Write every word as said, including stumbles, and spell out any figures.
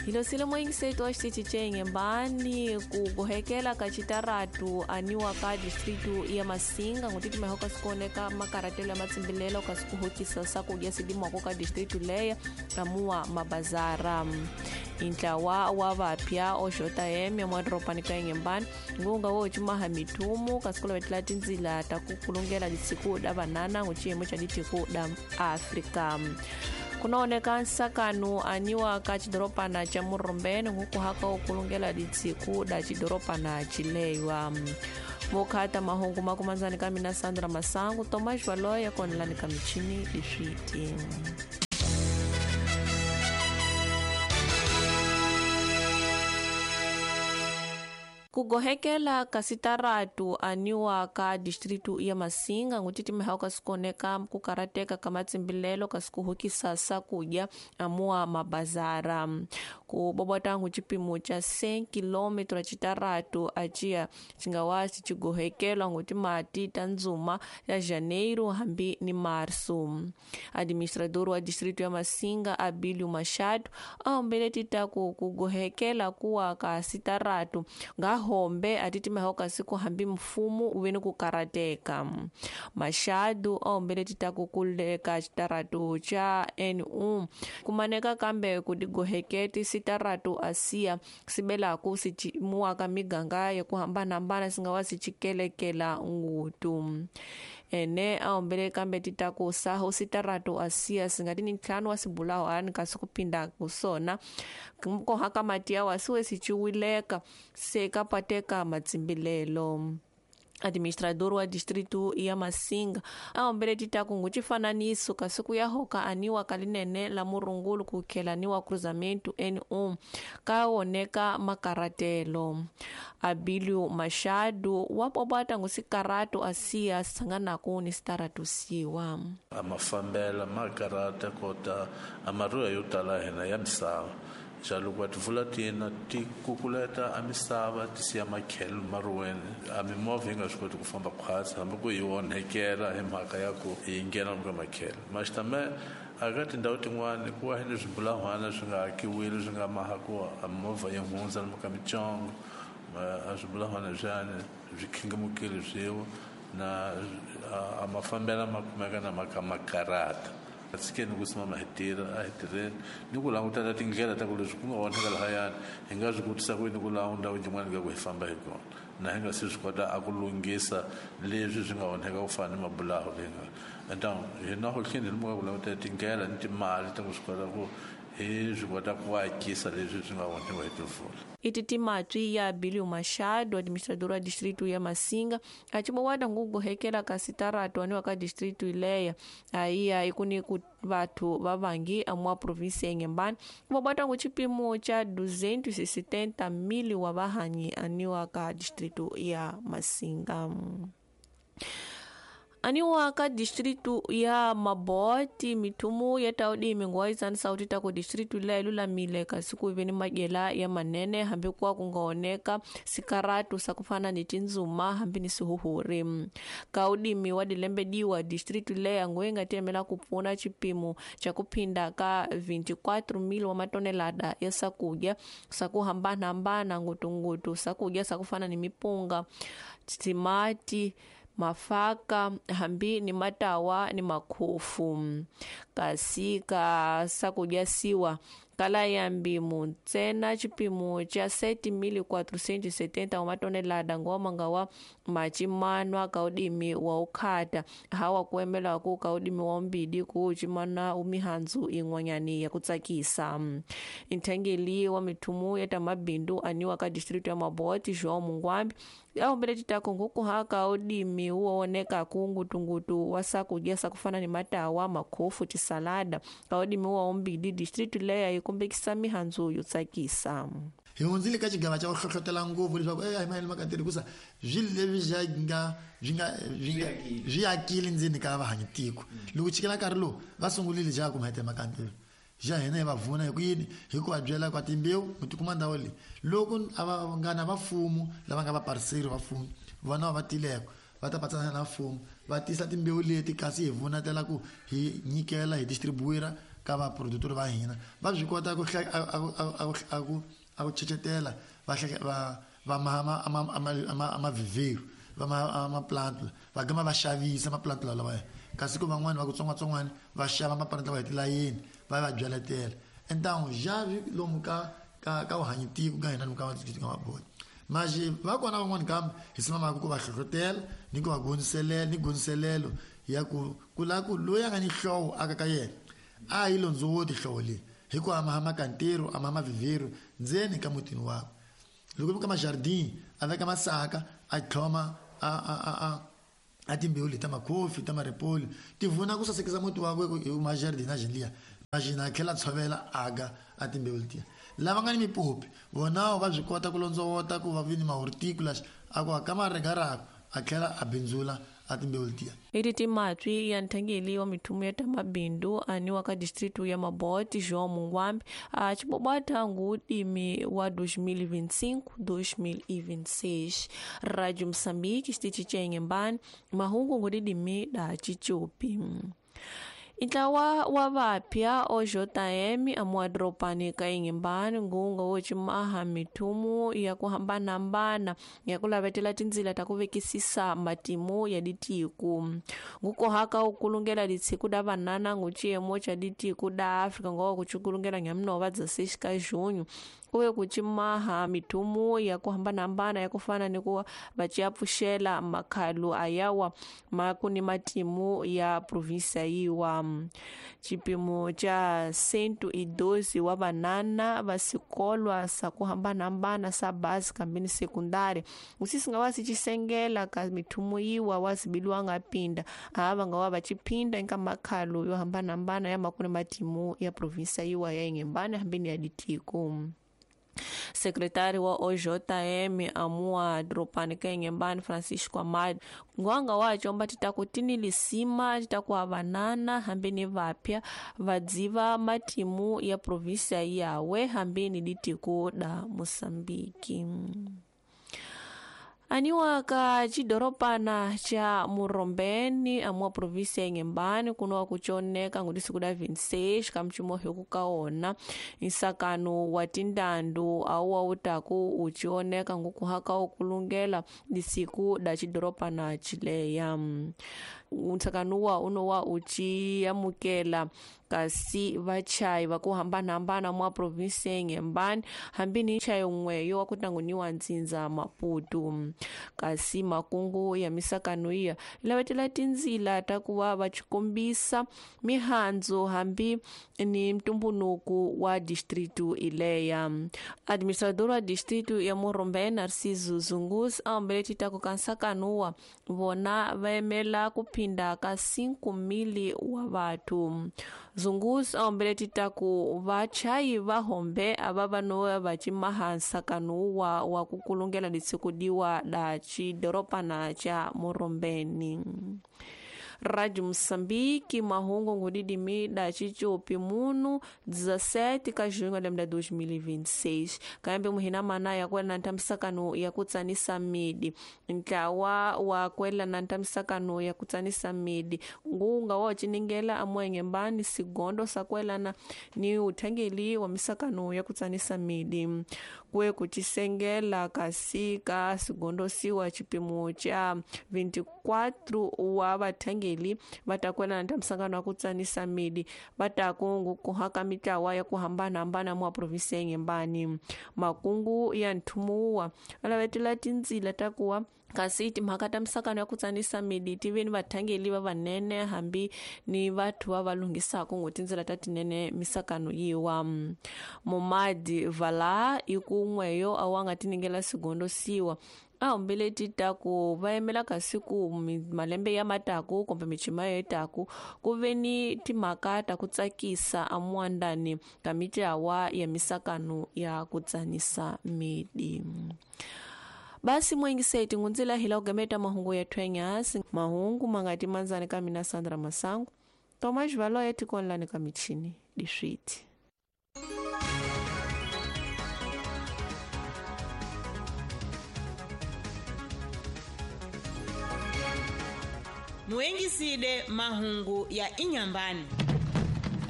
Hilosile moyingiseto wa xitichi ca Inhembani ku gohekela ka xitaratu aniwa ka distritu ya Masinga ngutitimeho ka sikoneka makaratelo ya matsimbilelo ka sikuhokisa sakudya sidimwako ka distritu leya amuwa mabazara. Intlawa wa vapya oxota M ya mwadropani ka Inhembani ngunga wo cumaha mithumu kasi ku lavetela tindzila ta ku kulungela lisiku da vanana nguciyimo ca litiko da Afrika. Kunaoneka nsakanu aniwa ka xidoropana ca Murumbeni ngukuhaka okulungela lisiku da xidoropana cilewa. Vokhata mahungu makumanzani ka mina Sandra Masangu, Tomás Valoya konelani ka michini leswiti. Ku gohekela ka sitaratu aniwa ka distritu ya Masinga ngutitimeha ka sikoneka ku karateka ka matsimbilelo ka sikuhukisa sakudya amuwa mabazara. Ku bobota ngu cipimo ca cem kilômetro citaratu aciya cingawa cigohekelwa ngutimati ta ndzuma ya janeiro hambi ni março. Administrador wa distritu ya Masinga Abílio Machado ahombele titaku ku gohekela kuwa ka sitaratu nga hombe atitimeho kasi kuhambi mfumo uveni ku karateka. Machado ahombele titaku kuleka xitaratu ca N um kumaneka kambe kudigoheketi sitaratu asia sibelaku sicimuwaka miganga ya kuhambanahambana singawa sicikelekela ngutu. Ene ahombele kambe titaku saho sitaratu asia singati ni ntlhanu wa sibulaho ani kasi kupinda kusona kohaka mati yawa siwe siciwileka sekapateka matsimbilelo. Administrador wa distritu ya Masinga ahombele titaku ngucifananiso kasi kuyahoka aniwa kalinene la murungulu kukhela cruzamento N um kaoneka makaratelo. Abílio Machado wapobata ngusikaratu asia sanganaku ni sitaratu siwa. Amafambela makarata kota amaruya yo tala hina ya misava. Jaloko tivula tina ti kukuleta a misava ti siya makhelo maruweni a mimovha yi nga swi koti ku famba khwatsi hambi ku yi onhekela hi mhaka ya ku yi nghena ka makhelo. Maxitame a ka tindhawu tin'wani ku wa ni swibulahwana swi nga akiwile swi nga maha ku a mimovha yi hundza lomu ka mitsongo a swibulahwana leswiyani swi khingamukile swiwa na a mafambela ma kumeka na maka makarata. Tshikeni ku simama hi tirha a hi tirheni ni ku langutela tindlela ta ku leswi ku nga onheka lahayani hi nga swi kotisa ku yini ku laha ndhawu yin'wana ka ku hi famba hi kona na hi nga se swi kota a ku lunghisa leswi swi nga onheka ku fana ni mabulaho leyi nga. Então hina ho tlhela hi ku langutela tindlela ni timali ta ku swi kota ku hi swi kota ku akisa leswi swi nga onhiwa hi timpfula. Ititimatwi ya Abílio Machado, administrador wa distritu ya Masinga, acibowada ngugohekela ka sitaratu aniwa ka distritu ileya aiya ikuni ku vathu vavangi amwa província ya Inhembani vobata ngu cipimo ca duzentos e setenta mil wa vahanyi aniwa ka distritu ya Masinga. Aniwa ka distritu ya Maboti mithumu ya taudimi nguwaizani sauti ta ku distritu leyi lulamile kasi ku veni madyela ya manene hambi kuwa ku nga oneka sikaratu sa kufana ni tindzuma hambi ni sihuhuri. Ka udimi wa dilembediwa distritu leyi nguwe nga tiemela ku pfuna xipimo xa ku phinda ka vinte e quatro mil wa matonelada ya swakudya swa ku hambanahambana ngutungutu swakudya swa ku fana ni mipunga, timati, mafaka hambi ni matawa ni makhofu. Kasi ka swakudya siwa kala ya mbimu ntsena xipimo xa sete mil quatrocentos e setenta wa matonelada ngoma nga wa macimanwa ka udimi wa ukhata hawa kuemela ku ka udimi wa umbidi ku cimana umihandzu in'wanyani ya ku tsakisa. Nthengeli wa mithumu ya ta mabindu aniwa ka distritu ya Maboti João Mungwambi ahombele titako ngukuhaka udimi uwoneka ku ngutungutu wa swakudya swa kufana ni matawa, makhofu, tisalada ka udimi wa umbidi distritu leya yi kombekisa mihandzu yo tsakisa. Hi hundzile ka xigava xa ku hlohlotela ngopfu leswaku e a hi mayelana maka tirhi hikusa swilo leswi swi nga swi nga swi nga swi akile ndzeni ka vahanyi tiko. Loko chikela nkarhi lowu va sungurile xa ku mhete maka ntirho xa hina hi va vuna hi ku yini hi ku va byela kwa timbewu mi tikuma ndhawu leyi loko a va nga na vafumo lava nga vapariseri va mfumo vona va tileko va ta patsana na mfumo va tisa timbewu leti kasi hi vunatela ku hi nyikela hi distribuira ka vaproductori va hina va swi kota ku a ku a ku chechetela va va va ma ma ma vivero va ma ma plant va gama va xavisa ma plant lawa kasi ku van'wani va ku tsongwatsongwana va xava ma plant lawa hi tilayeni va va byaletela então já lomu ka ka ka uhanyitiko ka hina lomu ka ka mabodi mas va kona van'wani kambe hi simamaka ku va hlohlotela ni ku va gundiselela ni gundiselelo ya ku ku la ku loyi a nga ni hlovo aka ka yena a yi londzowoti hlovo leyi hi ku ama hama ka ntirho ama hama vivero ndzeni ka mutini wakwe loko ka majardin a veka masaka a tlhoma a a a a a timbewu leti ta makhofi ta maripoli ti vuna ku sasekisa muti wakwe hi majardin a jeliya majina a tlhela tshovela aga a timbewu letiya lava nga ni mipopi vonawo va swi kota ku londzowota ku va vi ni mahorticulas a ku aka maregarako a tlhela a bindzula a timbewu letiya iti timatswi ya nthangeli wa mithumu ya tamabindu aniwa ka distritu ya Mabote João Munguambe a cibobata ngudimi wa dois mil e vinte e cinco dois mil e vinte e seis. Rádio Moçambique xitichi ca Inhambane mahungu ngudidimi da Chichupi. Intlawa wa vapya o J M amuadropani ka Inhambane ngunga wo cimaha mithumu ya ku hambanahambana ya ku lavetela tindzila ta ku vekisisa matimu ya ditiku ngukohaka ukulungela ditshiku da vanana ngu ciyemo ca ditiku da Afrika ngowa kucukulungela nyamunova dezesseis ka junho kuve kucimaha mithumu ya ku hambanahambana ya ku fana ni ku va ciapfuxela makhalu ayawa ma ku ni matimu ya provinsia yiwa. Cipimo ca cento e doze wa vanana va sikolwa sa ku hambanahambana sa base kambeni sekundari usisi nga wa si cisengela ka mithumu yiwa wa zibiliwa nga pinda ava nga wa va ciphinda eka makhalu yo hambanahambana ya makuni matimu ya provinsia yiwa ya Inhambane hambeni ya ditiko. Secretário wa O J M amua dropani ka Inhambane Francisco Amado ngwanga wacho omba titaku lisima titaku avanana hambeni vapya vadziva matimu ya provinsia yawe hambeni ditiko da Moçambique. Aniwa ka cidoropana ca Murombeni amua provinsia ya Inhambane kunowa kuconeka ngudisiku da vinte e seis ka mcimohyo kukaona nsakano wa tindandu auwa utaku ucioneka ngukuhaka ukulungela disiku da cidoropana cileya. Nsakanuwa unowa uciyamukela kasi vachai va ku hambanahambana mwa provinsia ya Inhambane hambini nchayi un'weyo wa ku tanguniwa ntsindza Maputo. Kasi makungu ya misakano iya lavetela tindzila ta ku va va cikombisa mihandzu hambi ni ntumbunuku wa distritu ileya. Administrador wa distritu ya Murombeni Narciso Zungus a ombele titaku ka nsakanuwa vona va yimela ku phinda ka cinco mil wa vathu. Zungus a ombele titaku vachayi va hombe ava va no va cimaha nsakanuwa wa ku kulungela ditsikudiwa da cidoropana ca Murombeni. Rádio Moçambique, mahungu ngudidimi da Chichupi munu dezessete ka junho de dois mil e vinte e seis. Kambe muhina mana ya kwela na ntamisakano ya kutsanisa midi. Ntlawa wa kwela na ntamisakano ya kutsanisa midi. Ngunga wa chiningela amwenge mbani sigondo sa kwela na ni uthangeli wa misakano ya kutsanisa midi. Kwe kuchisengela kasi ka sigondo siwa chipimo cha vinte e quatro wa vathangeli vatakwela na ntamisakano ya kutsanisa midi vatakungu kuhaka mitlawa ya ku hambanahambana mwa provinsia ya Inhambane. Makungu ya nthumuwa alavetela tindzila ta kuwa kasi timhaka ta misakano ya kutsanisa midi ti ve ni vathangeli va vanene hambi ni vathu va va lunghisaka ngo tindzela ta tinene misakano yiwa. Momadi Vala i kun'weyo a wa nga tiningela sigondo siwa a hombele titaku va yimela kasi ku malembe ya mataku kumbe michima ya taku ku ve ni timhaka ta ku tsakisa amuandani ka mitlawa ya misakano ya ku tsanisa midi. Basi mwengiseti ngunzila hila ugameta mahungu ya twenyasi mahungu mangati manzani ka mina Sandra Masangu Tomas Valo yetikonlani ka michini diswiti. Muengiside mahungu ya Inhambane.